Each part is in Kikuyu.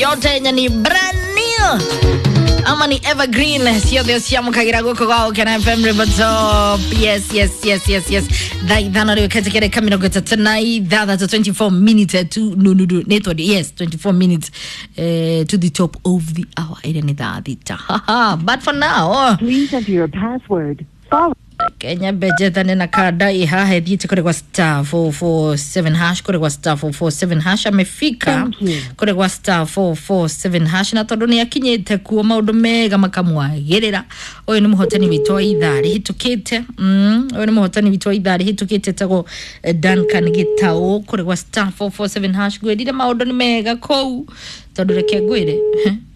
Yote yenye ni brand new ama ni evergreen, ciothe ciamũkagĩra guoko gwa Gũkena FM River Top. Yes, yes, yes, yes, yes. Thaa ithano rĩu katika 36, 24 minutes to, no, no, no, nĩ tondũ yes, 24 minutes to the top of the hour, ĩrĩa nĩ thaa thita. But for now, Please enter your password. Follow. Kenya mbejethane na kada ihaha ithiĩte kũrĩ gwa star 447 hash, kũrĩ gwa star 447 hash amefika. Thank you. Kũrĩ gwa star 447 hash, na tondũ nĩ akinyĩte kuo maũndũ mega makamwagĩrĩra. Ũyũ nĩ mũhotani witũ wa ithaa rĩhĩtũkĩte. Ũyũ nĩ mũhotani witũ wa ithaa rĩhĩtũkĩte, etagwo Duncan Gĩtaũ, kũrĩ gwa star 447 hash. Ngwĩrire maũndũ nĩ mega kũu, tondũ reke ngwĩre,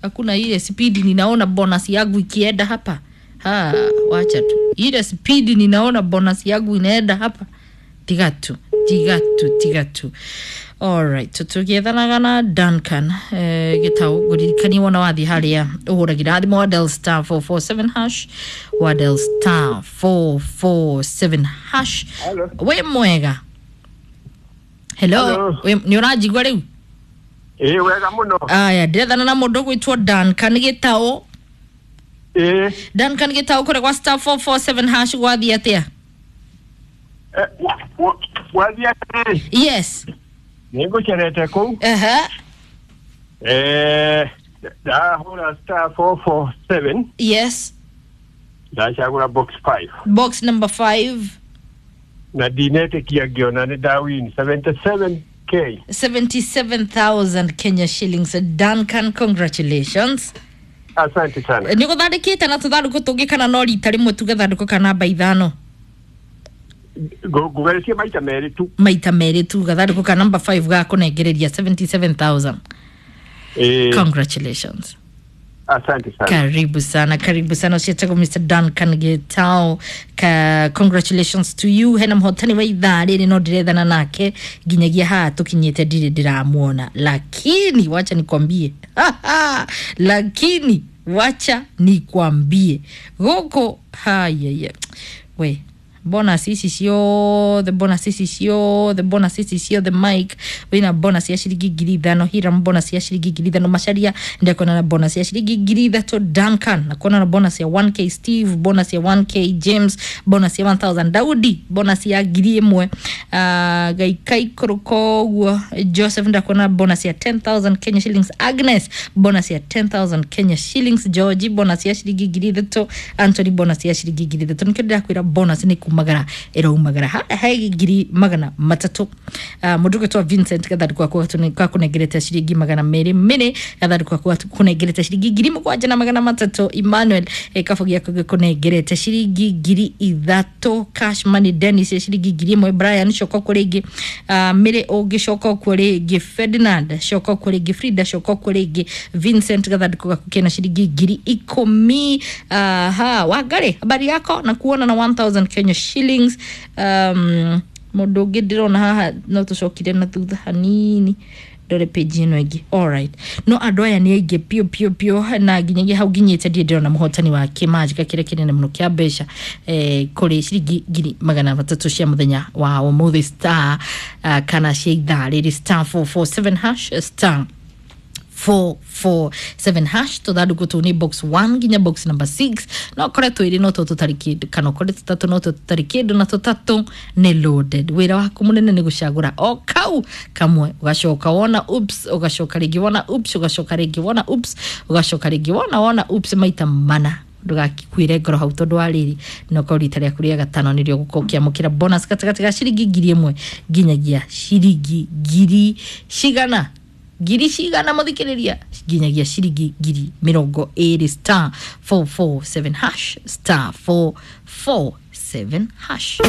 hakuna ile spidi ninaona bonus yangu ikienda hapa. Ha, wacha tu ile spidi ninaona bonus yangu inaenda hapa. Tiga tu, tiga tu, tiga tu. Alright, tũgĩethanaga na Duncan Gĩtaũ. Ngũririkanie wona wathiĩ harĩa ũhũragĩra thimũ wa dial star 447 hash, wa dial star 447 hash. Hello. Wĩ mwega? Hello. Hello. Nĩ ũranjigua rĩu? Ĩĩ, wega mũno. Aya, ndĩrethana na mũndũ ũgwĩtwo Duncan Gĩtaũ. Ĩĩ. Duncan Gĩtaũ, kũrĩ gwa star 447 hash gwathiĩ atĩa? Wathiĩ atĩrĩ. Yes. Nĩ ngũcerete kũu. Aha. Ndahũra star 447. Yes. Ndacagũra box 5. Box number 5. Na ndinetĩkia ngĩona nĩ ndawin 77K. 77,000 Kenya shillings. Duncan, congratulations. Asante sana. Nĩ gũthandĩkĩte na tũthandũkũ tũngĩ kana no rita rĩmwe tu gathandũkũ ka namba ithano? Ngũgeretie maita merĩ tu. Maita merĩ tu, gathandũkũ ka namba 5 gakũnengereria 77,000. Ĩĩ. Congratulations. Asante sana. Karibu sana, karibu sana. Ũciĩtagwo Mr Duncan Gĩtaũ. Ka congratulations to you. Hena mũhotani wa ithaa rĩrĩ no ndĩrethana nake nginyagia haha tũkinyĩte ndirĩ ndĩramuona, lakini wacha nikwambie, lakini wacha nikwambie gũkũ hayaya we bonus ici ciothe, bonus ici ciothe, bonus ici ciothe. Mike wina bonus ya ciringi 5,000, Hiram bonus ya ciringi 5,000, Macharia ndekuona na bonus ya ciringi 3,000, Duncan nakuona na bonus ya 1K, Steve bonus ya 1K, James bonus ya 1000, Daudi bonus ya 1,000, Gaikaikũrũka ũguo, Joseph ndakuona bonus ya 10,000 Kenya shillings, Agnes bonus ya 10,000 Kenya shillings, George bonus ya ciringi 3,000, Anthony bonus ya ciringi 3,000. Nĩkĩo ndĩrakwĩra bonus nĩ kumagara ĩraumagara haha he 300,000. Mũndũ ũgwĩtwo Vincent gathandũkũ gaku gakũnengerete ciringi 200, Mĩrĩ gathandũkũ gaku gakũnengerete ciringi 7,300, Emmanuel gĩkabũ gĩaku gĩkũnengerete ciringi 3,000, Cash Money Dennis ya ciringi 1,000, Brian coka kuo rĩngĩ, Mĩrĩ ũngĩcoka kuo rĩngĩ, Ferdinand coka kuo rĩngĩ, Frida coka kuo rĩngĩ, Vincent gathandũkũ gaku kena ciringi 10,000. Aha, Wangari habari yako na kuona na 1000 Kenya shillings. Mũndũ ũngĩ ndĩrona haha no tũcokire na thutha hanini ndore page ĩno ĩngĩ. Alright, no andũ aya nĩ aingĩ piũ piũ piũ, na nginyagia hau nginyĩte ndirĩ ndĩrona mũhotani wa kĩmanjĩka kĩrĩa kĩnene mũno kĩa mbeca kũrĩ ciringi 300,000 cia mũthenya wa ũmũthĩ star kana cia ithaa rĩrĩ, star 447 hash, star 447 hash. Tũthandũkũ tũu nĩ box 1 nginya box number 6. No kore twĩrĩ no tũ tũtarĩ kĩndũ, kana ũkore tũtatũ no tũ tũtarĩ kĩndũ, na tũtatũ nĩ loaded. Wĩra waku mũnene nĩ gũcagũra o kau kamwe, ũgacoka wona oops, ũgacoka rĩngĩ wona oops, ũgacoka rĩngĩ wona oops, ũgacoka rĩngĩ wona oops maita mana. Ndũgakuĩre ngoro hau, tondũ wa rĩrĩ no korwo rita rĩaku rĩa gatano nĩrĩo ũgũkorwo ũkĩamũkĩra bonus gatagatĩ ga ciringi 1,000 nginyagia ciringi ngiri cigana, ngiri cigana mũthikĩrĩria, nginyagia ciringi 20,000. Star 447 hash, star 447 hash.